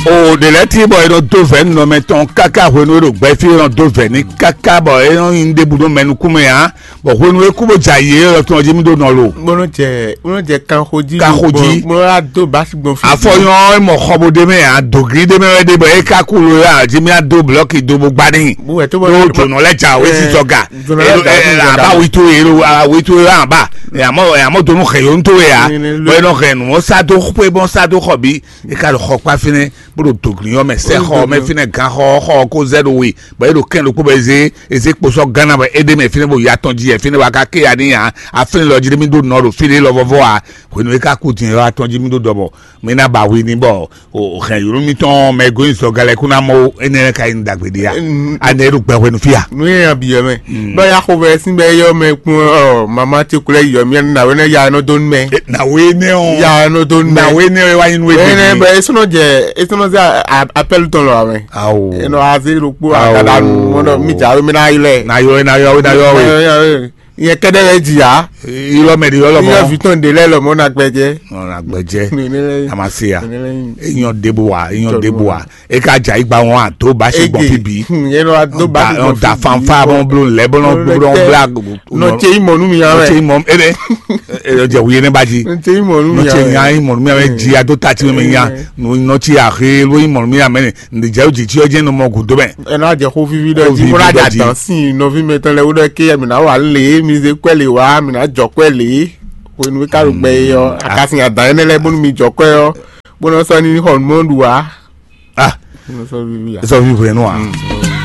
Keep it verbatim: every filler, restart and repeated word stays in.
O ɖe lɛ́ɛ ti bɔ è nɔ dó vɛ̌ nɔmɛ tɔn káká hwenu e ɖo gbɛfí è nɔ dó vɛ̌ ní káká bɔ é nɔ nyi ɖěbǔ nú mɛ nukúnmɛ ǎ, bɔ hwenu e kú bó jɛ ayǐ é lɔ tɔn jí mì ɖó nɔ lo. Bó nɔ jɛ bó nɔ jɛ kanxo jí. Kanxo jí. Bó nɔ wá dó basi gbɔn fí. Afɔnyɔ e mɔ xɔ bó ɖe mɛ ǎ, dǒgí ɖe mɛ wɛ ɖe bɔ é ká kú lo ǎ, jí mì á dó blɔki dó bó gbá ní. Bó wɛ tó bɔ ɖó jǒnɔ lɛ́ jà wé sísɔ ga. Jǒnɔ lɛ́ jà wé sísɔ ga. Aba witu yelo witu yelo aba. Yamɔ yamɔ donu xɛ yonto ya. Bɔ enɔ xɛ nu sa do xwe bɔ sa do xɔ bi. E ka ɖo xɔ kpa fínɛ́ bó ɖo dǒglin ɔ́ mɛ sɛ́ xɔ mɛ fínɛ́ gán xɔ xɔ kó zɛ ɖo we bɔ é ɖo kɛn ɖokpó bɔ eze eze kposɔ gánna bɔ é ɖe mɛ fínɛ́ bó ya tɔn jí yɛ fínɛ́ bɔ a ka ké ya ní ya afínɛ́ lɔ jí ɖé mì ɖó nɔ ɖo fí ɖé lɔ vɔvɔ a hwenu e ka kú din lɔ atɔn jí mì ɖó ɖɔ bɔ mì ná ba wi ní bɔ o hɛn yǒlú mitɔn mɛ e gosín sɔ galɛ kún ná mɔ énɛ́ lɛ́ɛ ka nyí ɖagbe ɖé a anɛ e ɖo gbɛ hwenu fí a. Nu ye ya biyɔ mɛ. Bɛ ya xo bɛ sin bɛ yɔ mɛ kpɔn ɔ mama ce kulɛ yɔ mɛ na wɛ ne ya nɔ do nu mɛ. Nawe ne o. Ya nɔ do nu mɛ. Nawe ne o wa yin nu ebe. Bɛ esɔnɔ jɛ esɔnɔ zɛ apɛlu tɔn lɔ amɛ. Awo. Enɔ aze ɖokpo agada nu mɔnɔ mi dza we mi na yi lɛ. Na yɔ na yɔ na yɔ we. Yɛ kɛdɛ lɛ dzi ya. Ilɔ mɛ di yɔ lɔ mɔ. Yɔ vitɔn de lɛ lɔ mɔ na gbɛjɛ. Ɔ na gbɛjɛ. Nene lɛ. Amasiya. Nene lɛ. Eyɔn debo wa eyɔn debo wa. E ka dza yi gba wọn a do basi gbɔn fi bi. Yɛn nɔ do basi gbɔn fi bi. Da fanfa bɔ blo lɛ bɔ nɔ blo bla. Nɔ tse yi mɔ nu mi ya wɛ. Nɔ tse yi mɔ ene. Jɛ wuye ne ba ji. Nɔ tse yi mɔ nu mi ya wɛ. Nɔ tse nya yi mɔ nu mi ya wɛ ji a do ta ti mi nya. Nɔ tse ahe lo yi mɔ nu mi ya mɛ ne. Ǹdí jɛ o jì tí ɔ jẹ́ nɔ mɔ gùn dó mɛ. Ena jɛ xó vivi ɖe jí bó ná jà dán sí nɔví mɛtɔn lɛ wó ɖɔ ké mi ná wà lé mi zé kwɛ lè wá mi ná jɔ kwɛ lè. Wenu ká ɖo gbɛ yɔ akasin adán ɛnɛ lɛ bónú mi jɔ kwɛ yɔ bónú sɔ ní xɔ numɔɖu wá. Ah. Bónú sɔ vivi ya. Sɔ vivi hwenu a.